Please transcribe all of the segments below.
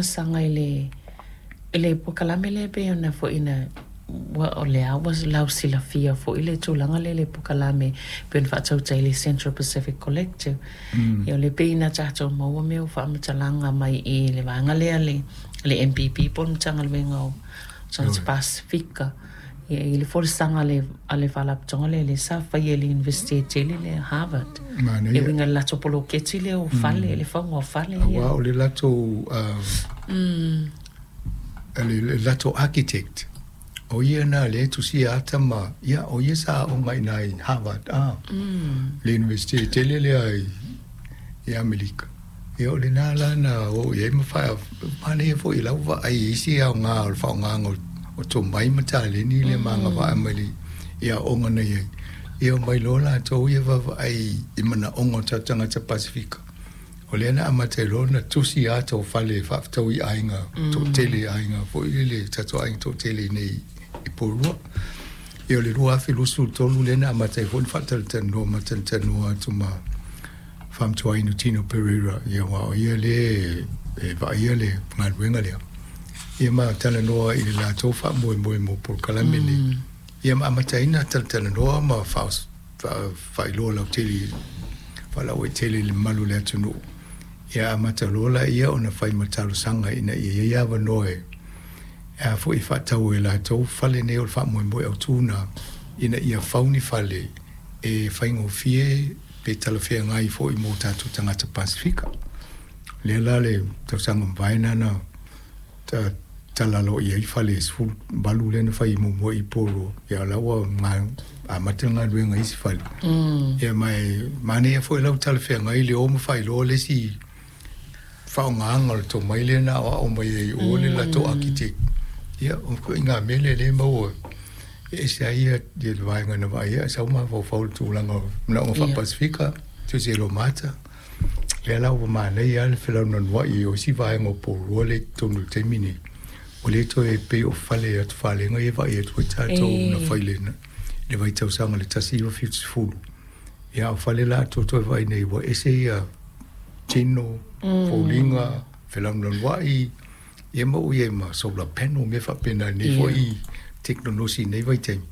Saga i le polokalame lea pei ona foi na ua o lea ua lausilafia foi le tulaga lea i le polokalame pei ona faatautai le Central Pacific Collective. Ia o le pei na tatou maua mea o faamatalaga mai i le vaega lea le MPP po o le Matagaluega o Tagata Pasefika. Ia i le folasaga a le faalapotopotoga lea sa faia i le University tele lea Harvard. Manaia. E uiga i le latou poloketi lea o fale, le fauga o fale ia. Aua o le latou le latou architect o ia na le tusia ata ma ia o ia sa aoga i ina i Harvard le University tele lea i Amerika. Ia o lena la na oo i ai ma manaia foi i lau vaai i isi aoga o le faaaogaga o tomai ma taleni le magavaa mai le i aoga na i ai. Ia omai loa latou ia vaavaai i manaoga o tatou tagata Pasefika. O lea na amata ai loa ona tusi ata o fale e faafetaui i aiga toatele, aiga foi lele, tatou aiga toatele i nei i Porirua. Ia o le 2023 lea na amata ai foi ona faatalatalanoa ma talatalanoa atu ma faamatuaina Tino Pereira, ia aua o ia lea e vaaia le galuega lea. Ia ma talanoa i le latou faamoemoe mo polokalame nei. Ia ma amataina talatalanoa ma faailoa lautele faalauaitele i le mamalu o le atunuu. Ia amata loa laia ona fai ma talosaga ina ia i ai avanoa e a foi faatau e latou fale nei o le faamoemoe autu na ina ia fau ni fale e faigofie pe talafeagai foi mo tatou tagata Pasefika. Lea la le tausaga mavae na talalo i ai fale 18 lea na fai muamua i Porirua. Ia la ua amata le galuega i isi fale. Ia ma e manaia foi lau talafeagai le o ma faailoa le isi faaaogaga o le tomai lea na aoao mai ai o le latou architect. Ia o ituaiga mea lea lea e maua e ese ai ia le vaega na vaaia ae sau mafaufau i le tulaga o manaoga faa-Pasefika, tusi e lomata. Lea la ua manaia lava le felaunanuai o isi vaega o Porirua lea i totonu i le taimi nei. Ua le toe pei o fale atufalega ia e vaai atu ai tatou na fai i le vaitausaga i le 1970. Ia a o fale la atoa toe vaai nei ua ese ia tino, foliga, felaunanuai, ia ma ua i ai ma solar panel mea faapena i lenei foi tekonolosi i lenei vaitaimi.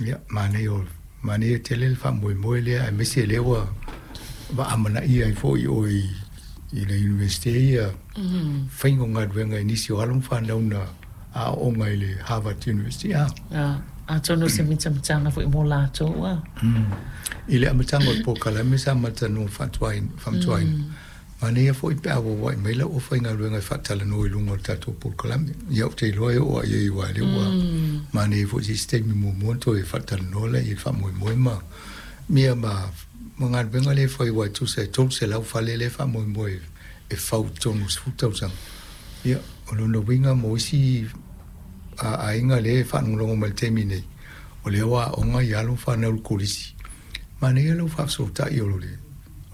Ia, manaia manaia tele le faamoemoe lea aemaise lea ua vaamanaia ai foi oe i le Iunivesite ia faiga o galuega i nisi o alo ma fanau na aooga i le Harvard University. Atonu o se mitamitaga foi mo latou a. I le amataga o le polokalame sa matalanoa faamatuaina, manaia foi pe a auauai mai lau aufaigaluega e faatalanoa i luga o le tatou polokalame. Ia ou te iloa e oo lava i ai aua o lea ua manaia foi se isi taimi muamua ona toe faatalanoa lea i le faamoemoe ma ia ma galuega lea e fai aua e tusa e 300 fale lea e faamoemoe e fau i totonu o le 10 tausaga. Ia, o lona uiga mo isi aiga lea e faalogologo mai i le taimi nei, o lea ua aoga i alo ma fanau i le kolisi, manaia lau faafesootai o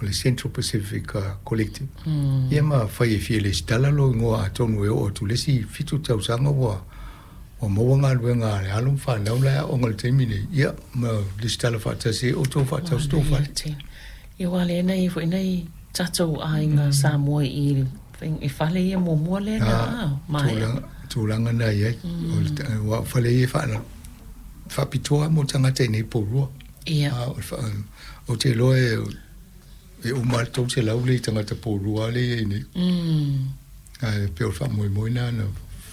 le Central Pacific Collective. Ia ma fai e fia resitala lou igoa atonu e oo atu i le isi 7 tausaga ua maua galuega a le alo ma fanau la e aoga i le taimi nei, ia ma resitala faatasi ai outou faatau se tou fale. Ia aua lea na i ai foi nai tatou aiga Samoa i fale ia muamua lea na maea. Tulaga na i ai. O fale ia e faapitoa mo tagata i nei Porirua. Ou te iloa e uma lava le 300 le tagata Porirua lea e i ai nei. Ae pei o le faamoemoe lena na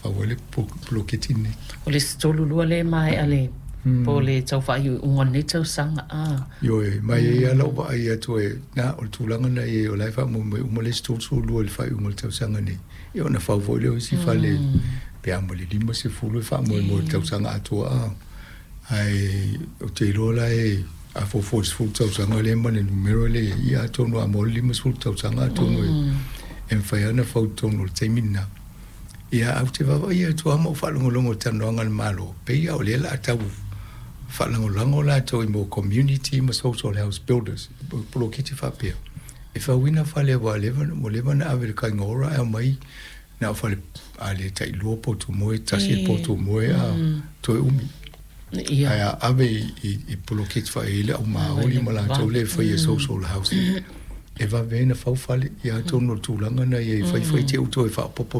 fau ai le poloketi lenei. O le isi 32 lea e maea le po o le tau faaiuiuga o lenei tausaga. Ioe, ma e i ai lava lau vaai atu e na o le tulaga na i ai o la e faamoemoe uma le isi 32 i le faaiuga o le tausaga nei. Ia ona fau foi lea o isi fale pe a ma le 50 e faamoemoe i le tausaga atoa. Ae ou te iloa la e a fuafua i le 10 tausaga lea ma le numera lea, ia atonu a maua le 50 tausaga atonu e mafai lava ona fau i totonu o le taimi lena. Ia ae ou te vaavaai atu lava ma ou faalogologo i talanoaga a le Malo, pei lava o lea o le a tau faalagolago latou i mo community ma social house builders, poloketi faapea. E fauina fale aua ua leva ona ave i le Kaingaora ae aumai na o fale a le tai lua potu moe, tasi le potu moe a toe umi. Ae a ave i poloketi faaiai le au maoli ma latou lea e faia social housing. E vave ai ona fau fale, ia atonu o le tulaga lena ia i faifai te i ua toe faaopoopo.